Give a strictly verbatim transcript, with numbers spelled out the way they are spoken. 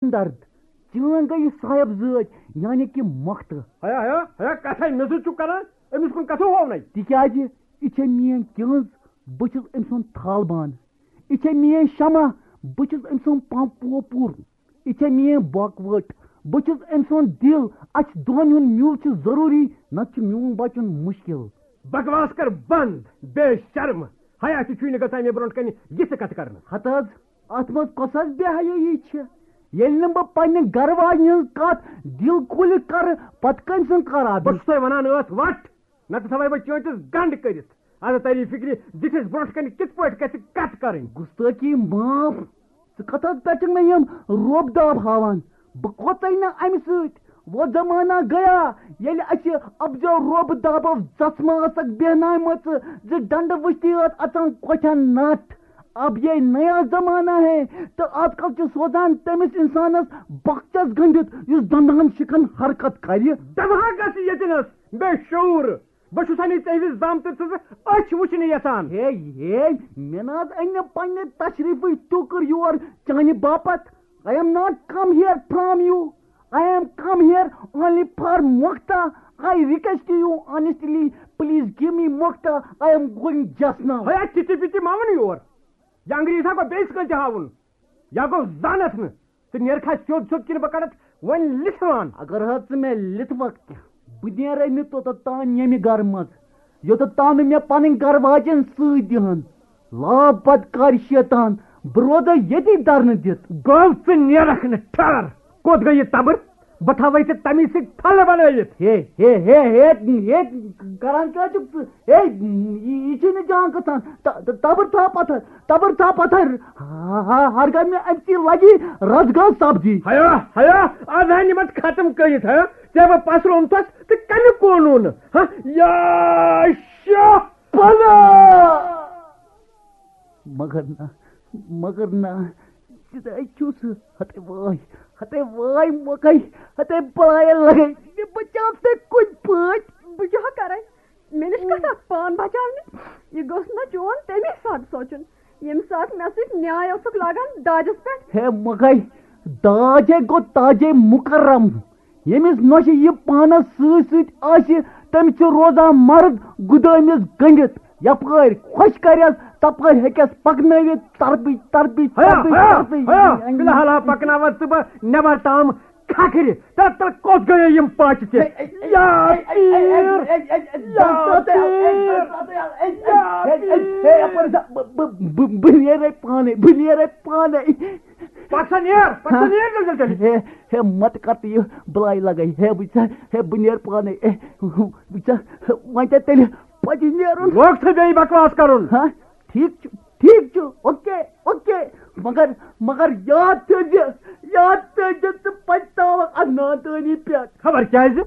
ہمدرد، چٲنۍ گٔیہِ صاحب زٲج، یعنی کہِ مۄختہٕ۔ ہیا، ہیا، ہیا، کتھے مےٚ سۭتۍ چھُکھ کران، أمِس کُن کتھٕ ہوونَے۔ تِکیٛازِ یہِ چھےٚ میٛٲنۍ کِہٕنٛز، بہٕ چھُس أمۍ سُنٛد تھالبان۔ یہِ چھےٚ میٛٲنۍ شمع، بہٕ چھُس أمۍ سُنٛد پمپ پوپُر۔ یہِ چھےٚ میٛٲنۍ بۄکہٕ ؤٹ، بہٕ چھُس أمۍ سُنٛد دِل۔ اَسہِ دۄن ہُنٛد میوٗل چھُ ضروٗری، نتہٕ چھُ میٛون بچُن مُشکِل۔ بکواس کر بند، بے شرم۔ حیا تہِ چھُے نہٕ گژھان مےٚ برونٛٹھ کنہِ یِژھٕ کتھٕ کرنس۔ ہتہٕ حظ، اتھ منٛز کۄس حظ بے حیٲیی چھِ؟ ییٚلہِ نہٕ بہٕ پننہِ گرٕ واجنہِ ہٕنٛز کتھ دِل کھوٗلِتھ کرٕ، پتہٕ کٔمۍ سُنٛد کرٕ بہٕ؟ بہٕ چھُسے ونان، ٲس وٹ، نتہٕ تھاوے بہٕ چٲنٛٹِس گنڈ کٔرِتھ۔ ادٕ تری فکرِ، زِٹھِس برونٛٹھ کنہِ کِتھ پٲٹھۍ گژھِ کتھ کرٕنۍ؟ گُستٲخی معاف۔ ژٕ کتھ حظ پٮ۪ٹھ چھُکھ مےٚ یِم روب داب ہاوان؟ بہٕ کھوژے نہٕ امہِ سۭتۍ۔ وہ زمانہ گیا، ییٚلہِ اَسہِ افزیو روب دابو زژمہٕ ٲسکھ بیہناومٕژ زِ ڈنڈٕ وٕچھتٕے ٲس اژان کۄٹھٮ۪ن نٹھ۔ اب یہ نیا زمانہ ہے، تہٕ آز کل چھِ سوزان تٔمِس انسانس بۄکچس گٔنڈِتھ، یُس دندہن شِکن حرکت کرِ۔ دماغ گژھِ ییٚتہِ نس بے شعوٗر۔ بہٕ چھُسا نہٕ ژےٚ ہِوِس زامتٕرۍ سٕنٛزٕ أچھ وٕچھنہِ یژھان۔ ہے، ہے، مےٚ نہ حظ أنۍ نہٕ پننہِ تشریفٕچ ٹوٗکٕر یور چانہِ باپتھ۔ I am not come here from you. I am come here only for Mokta. I request you honestly, please give me Mokta. I am going just now. ہے، تِتہِ پِتہِ مہ وَن یور۔ یہِ انگریز ہا گوٚو بیٚیِس کٲنٛسہِ ہاوُن۔ یا گوٚو زانَتھ نہٕ۔ ژٕ نیرکھا سیوٚد سیوٚد کِنہٕ بہٕ کَڑَتھ وۄنۍ لِتھوان؟ اگر حظ ژٕ مےٚ لِتھوَکھ تہِ، بہٕ نیرے نہٕ توٚتَتھ تام ییٚمہِ گَرٕ منٛز، یوٚتَتھ تام نہٕ مےٚ پَنٕنۍ گَرٕ واجٮ۪ن سۭتۍ دِہَن۔ لاو بدکار شیطان، بہٕ روزے ییٚتی دَرنہٕ دِتھ۔ گوٚو ژٕ نیرَکھ نہٕ، ٹھہر۔ کوٚت گٔے یہِ تَبٕر؟ بہٕ تھاوَے ژےٚ تَمی سۭتۍ پھَلہٕ بَنٲوِتھ۔ ہے، ہے، ہے، ہے، ہے، کران کیٛاہ چھُکھ ژٕ؟ ہے، یہِ، یہِ چھُے نہٕ جان گژھان۔ تَ-، تَ-، تَبٕر تھاو پَتھَر، تَبٕر تھاو پَتھَر۔ ہا، ہا، ہا، ہر گاہ مےٚ اَمہِ سۭتۍ لَگی رَس گاو سَبزی۔ ہیا، ہیا، آز ہا نِمَتھ ختم کٔرِتھ، ہا؟ ژےٚ بہٕ پَسرومتَس تہٕ کَنہِ قونوٗن، ہا؟ یا شاہ پَناہ۔ مگر نہ، مگر نہ، ژٕ چھُس، ہتے وٲے، ہتے وٲے مۄکے، ہتے بلایہِ لگے، مےٚ بچاو ژٕ کُنہِ پٲٹھۍ۔ بہٕ کیٛاہ کرے؟ مےٚ نِش کتھ اکھ پان بچاونہِ؟ یہِ گوٚژھ نہ چون تَمی ساتہٕ سونٛچُن، ییٚمہِ ساتہٕ مےٚ سۭتۍ نیاے اوسُکھ لاگان داجس پٮ۪ٹھ۔ ہے مۄکے، داج ہے گوٚو تاجے مُکرم۔ ییٚمِس نۄشہِ یہِ پانس سۭتۍ سۭتۍ آسہِ، تٔمِس چھُ روزان مرد گُدٲمِس گٔنڈِتھ۔ یپٲرۍ خۄش کرٮ۪س، تپٲرۍ ہیٚکٮ۪س پکنٲوِتھ، ترپٕچ، ترپٕچ، ہیا، ترپٕچ، ہیا، ترپٕچ۔ ہیا، فی الحال ہا پکناوتھ ژٕ بہٕ نٮ۪بر تام کھکھرِ۔ تہٕ، تہٕ کوٚت گٔیے یِم پاچہِ تہِ؟ اے، اے، یا اے، اے، اے، اے، پیر، اے، اے، اے، اے، یا دستو تہِ، اے، پیر، دستو تہِ، اے، اے، یا اے، اے، اے، پیر۔ اے، اپٲرۍ سا، بہٕ، بہٕ، بہٕ، بہٕ نیرے پانے، بہٕ نیرے پانے۔ پتہٕ سا نیر، پتہٕ سا ہا؟ نیر جلدی جلدی۔ ہے، ہے، مت کر تہٕ یہِ بلاے لگے۔ ہے، وٕچھ سا، ہے، بہٕ نیر پانے۔ اے، وٕچھ سا، وۄنۍ ژےٚ تیٚلہِ پتہٕ نیرُن۔ لوگ ژٕ بیٚیہِ بکواس کرُن۔ ہا؟ ٹھیٖک چھُ، ٹھیٖک چھُ، اوکے، اوکے۔ مگر، مگر یاد تھٲیزِ، یاد تھٲیزِ ژٕ پچھتاوکھ اتھ نادٲنی پٮ۪ٹھ۔ خبر کیازِ؟